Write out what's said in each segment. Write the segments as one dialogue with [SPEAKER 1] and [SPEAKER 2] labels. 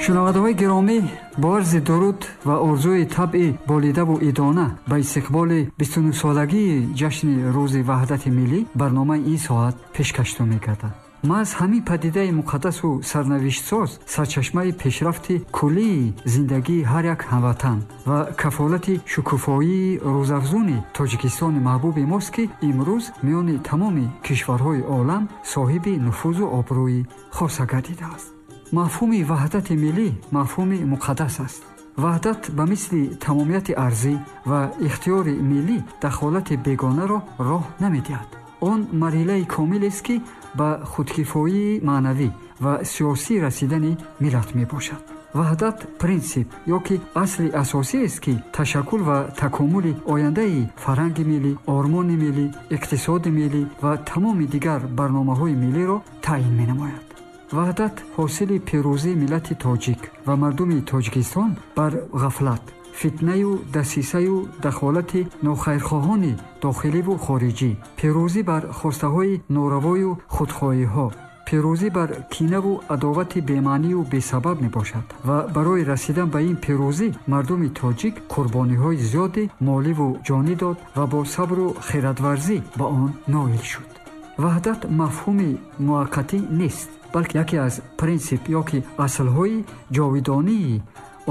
[SPEAKER 1] Шунавандаҳои гиромӣ, бо арзи дуруд ва орзуи табъи болидаву идона ба истиқболи 29-солагии ҷашни рӯзи ваҳдати миллӣ барномаи ин соат пешкаштон мегардад. Маҳз ҳамин падидаи муқаддасу сарнавиштсоз сарчашмаи пешрафти куллии зиндагии ҳар як ҳамватан ва кафолати шукуфоии рӯзафзуни Тоҷикистони маҳбуби мост, ки имрӯз миёни тамоми кишварҳои олам соҳиби нуфузу обрӯи хоса гардидааст. Мафҳуми ваҳдати миллӣ мафҳуми муқаддас аст. Ваҳдат ба мисли тамомияти арзӣ ва ихтиёри миллӣ дахолати бегонаро роҳ намедиҳад. Он марҳилаи комилест, ки ба худкифоии маънавӣ ва сиёсӣ расидани миллат мебошад. Ваҳдат принсип ё ки асли асосиест, ки ташаккул ва такомули ояндаи фарҳанги миллӣ, ормони миллӣ, иқтисоди миллӣ ва тамоми дигар барномаҳои миллиро таъин менамояд. Ваҳдат ҳосили пирӯзии миллати тоҷик ва мардуми Тоҷикистон бар ғафлат, фитнаю дасисаю дахолати нохайрхоҳони дохиливу хориҷӣ, пирӯзӣ бар хостаҳои норавою худхоҳиҳо, пирӯзӣ бар кинаву адовати бемаънию бесабаб мебошад ва барои расидан ба ин пирӯзӣ мардуми тоҷик қурбониҳои зиёди моливу ҷонӣ дод ва бо сабру хиратварзӣ ба он ноил шуд. Ваҳдат мафҳуми муваққатӣ нест, балки яке аз принсип ё ки аслҳои ҷовидонии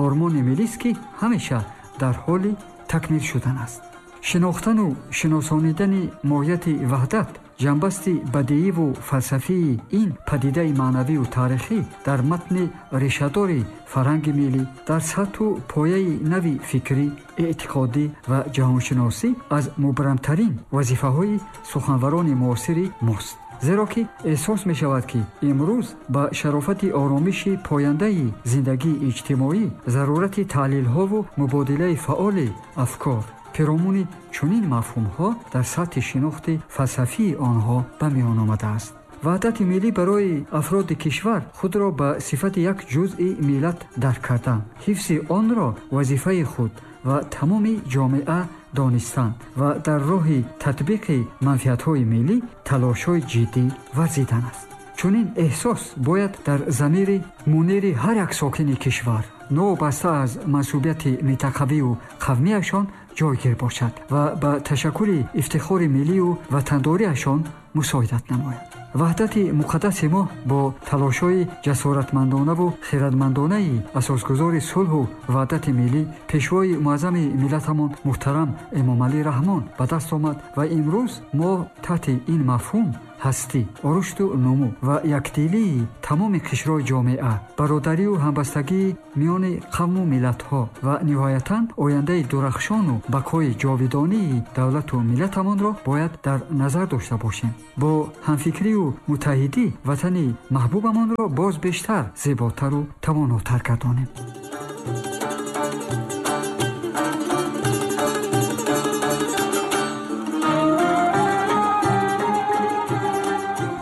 [SPEAKER 1] ормони миллист, ки ҳамеша дар ҳоли такмил шудан аст. Шинохтану шиносонидани моҳияти ваҳдат, ҷанбасти бадииву фалсафии ин падидаи маънавию таърихӣ дар матни решадори фарҳанги миллӣ, дар сатҳу пояи нави фикрӣ, эътиқодӣ ва ҷаҳоншиносӣ аз мубрамтарин вазифаҳои суханварони муосири мост. Зеро ки эҳсос мешавад, ки имрӯз ба шарофати оромиши пояндаи зиндагии иҷтимоӣ зарурати таҳлилҳову мубодилаи фаъоли афкор пиромуни чунин мафҳумҳо дар сатҳи шинохти фалсафии онҳо ба миён омадааст. Ваҳдати миллӣ барои афроди кишвар худро ба сифати як ҷузъи миллат дарк кардан, ҳифзи онро вазифаи худ ва тамоми ҷомеа донистан ва дар роҳи татбиқи манфиатҳои миллӣ талошҳои ҷиддӣ варзидан аст. Чунин эҳсос бояд дар замири мунири ҳар як сокини кишвар новобаста аз мансубияти минтақавию қавмияшон ҷойгир бошад ва ба ташаккули ифтихори миллию ватандориашон мусоидат намояд. Ваҳдати муқаддаси мо бо талошҳои ҷасоратмандонаву хиратмандонаи асосгузори сулҳу ваҳдати миллӣ, пешвои муаззами миллатамон муҳтарам Эмомалӣ Раҳмон ба даст омад ва имрӯз мо таҳти ин мафҳум ҳастӣ, рушду нумӯ ва якдилии тамоми қишрҳои ҷомеа, бародарию ҳамбастагии миёни қавму миллатҳо ва ниҳоятан ояндаи дурахшону бақои ҷовидонии давлату миллатамонро бояд дар назар дошта бошем. Бо ҳамфикрию муттаҳидӣ ватани маҳбубамонро боз бештар зеботару тавонотар гардонем.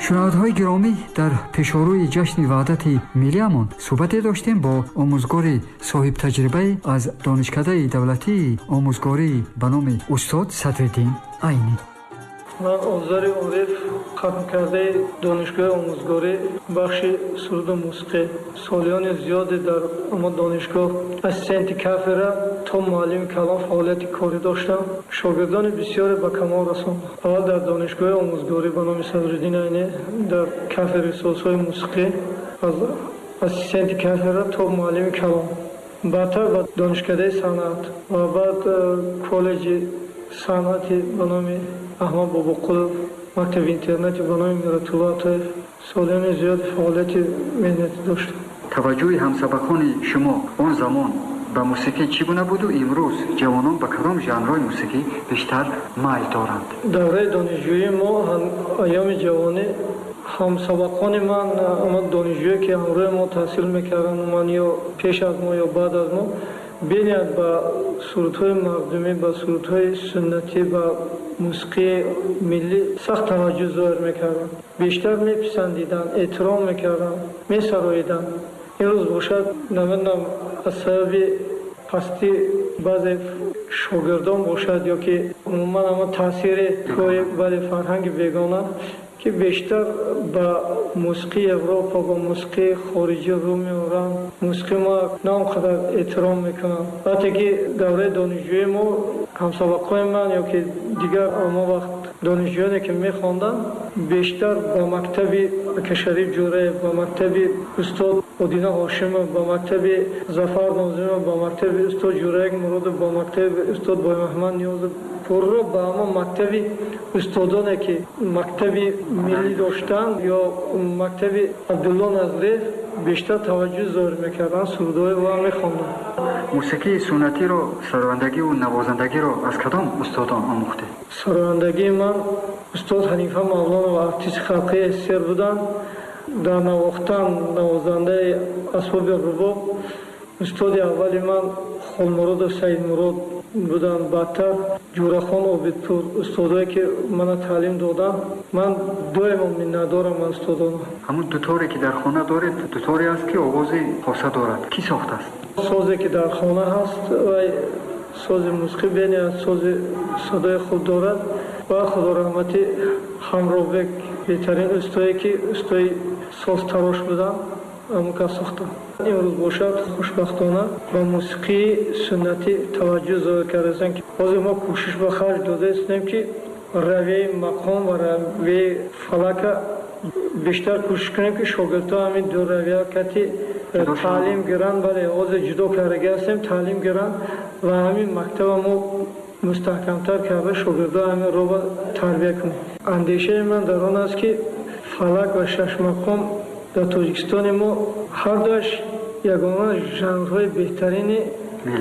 [SPEAKER 1] Шунавандаҳои гиромӣ, дар пешорӯи ҷашни ваҳдати миллиамон суҳбате доштем бо омӯзгори соҳибтаҷрибае аз Донишкадаи давлатии омӯзгорӣ ба номи устод Садриддин Айнӣ.
[SPEAKER 2] Ман Озари Ориф, хатмкардаи донишгоҳи омӯзгорӣ, бахши суруду мусиқӣ. Солиёни зиёде дар ама донишгоҳ ассистенти кафедра то муаллими калон фаъолияти корӣ доштам. Шогирдони бисёре ба камол расондам. Аввал дар донишгоҳи омӯзгорӣ ба номи Садриддин Айнӣ дар кафедраи созҳои мусиқӣ аз ассистенти кафедра то муаллими калон, баъдтар ба донишкадаи санъат ва баъд коллеҷи санъати ба номи Аҳмад Бобоқулов, мактаби интернати ба номи Миратулло Атоев солиёни зиёди фаъолияти меҳнатӣ доштам.
[SPEAKER 1] Таваҷҷӯҳи ҳамсабақони шумо он замон ба мусиқӣ чӣ гуна буду имрӯз ҷавонон ба кадом жанрҳои мусиқӣ бештар майл доранд?
[SPEAKER 2] Давраи донишҷӯии мо, айёми ҷавонӣ, ҳамсабақони ман, ама донишҷӯе ки ҳамроҳи мо таҳсил мекарданд, ман ё пеш аз мо ё баъд аз мо, бениҳоят ба сурудҳои мардумӣ, ба сурудҳои суннатӣ, ба мусиқии миллӣ сахт таваҷҷӯҳ зоҳир мекарданд. Бештар меписандиданд, эҳтиром мекарданд, месароиданд. Имрӯз бошад, намедонам, аз сабаби пастӣ баъзе шогирдон бошад ё ки умуман ама таъсири бале фарҳанги бегона ки Ки бештар ба мусиқии Европа, ба мусиқии хориҷӣ рӯ меоранд, мусиқии мо на он қадар эҳтиром мекунанд. Вақте ки давраи донишҷӯии мо, ҳамсабақҳои ман ё ки дигар ҳамон вақт донишҷӯёне ки мехонданд, бештар ба мактаби Акашариф Ҷӯраев, ба мактаби устод Одина Ҳошимов, ба мактаби Зафар Нозимов, ба мактаби устод Ҷӯраек Муродов, ба мактаби устод Боймуҳаммад Ниёзов, пурра ба ҳамон мактаби устодоне ки мактаби миллӣ доштанд ё мактаби Абдулло Назриев бештар таваҷҷӯҳ зоҳир мекарданд, сурудҳои ва мехонданд.
[SPEAKER 1] Мусиқии суннатиро, сарояндагиву навозандагиро аз кадом устодон омӯхтед?
[SPEAKER 2] Сарояндагии ман устод Ҳанифа Мавлонов, артисти халқии СССР буданд. Дар навохтан навозандаи асбоби рубоб устоди аввали ман Холмуродов Саидмурод буданд. Баъдтар Ҷӯрахон Обидпур, устодое ки мана таълим доданд, ман доимо миннатдорам аз устодонам.
[SPEAKER 1] Ҳамун дуторе ки дар хона доред, дуторе аст ки овози хоса дорад, кӣ сохтааст?
[SPEAKER 2] Созе ки дар хона ҳаст, вай сози мусиқӣ бениҳоят сози садои хуб дорад ва худо раҳматӣ Ҳамроҳбек, беҳтарин устое ки устои созтарош буданд, ҳамон кас сохтанд. Имрӯз бошад, хушбахтона ба мусиқии суннатӣ таваҷҷӯҳ зоҳир кардаистанд, ки ҳозир мо кӯшиш ба харҷ додаистем, ки равияи мақом ва равияи фалака бештар кӯшиш кунем, ки шогирдҳо ҳамин ду равия кати таълим гиранд. Бале, ҳозир ҷудо кардаги ҳастем, таълим гиранд ва ҳамин мактаба мо мустаҳкамтар карда, шогирдҳо ҳамин роба тарбия кунем. Андешаи ман дар он аст, ки фалак ва шашмақом дар Тоҷикистони мо ҳардуаш ягона жанрҳои беҳтарине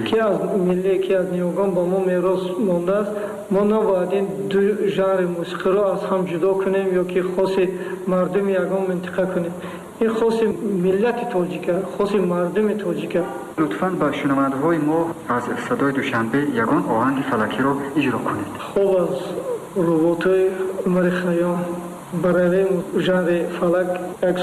[SPEAKER 2] ки аз миллӣ, ки аз ниёгон ба мо мерос мондааст. Мо набояд ин ду жанри мусиқиро аз ҳам ҷудо кунем ё ки хоси мардуми ягон минтиқа кунем. Ин хоси миллати тоҷика, хоси мардуми тоҷика.
[SPEAKER 1] Лутфан ба шунавандаҳои мо аз садои Душанбе ягон оҳанги фалакиро иҷро кунед.
[SPEAKER 2] Хуб, аз руботҳои Умари Хайём ба равияи жанри фалак як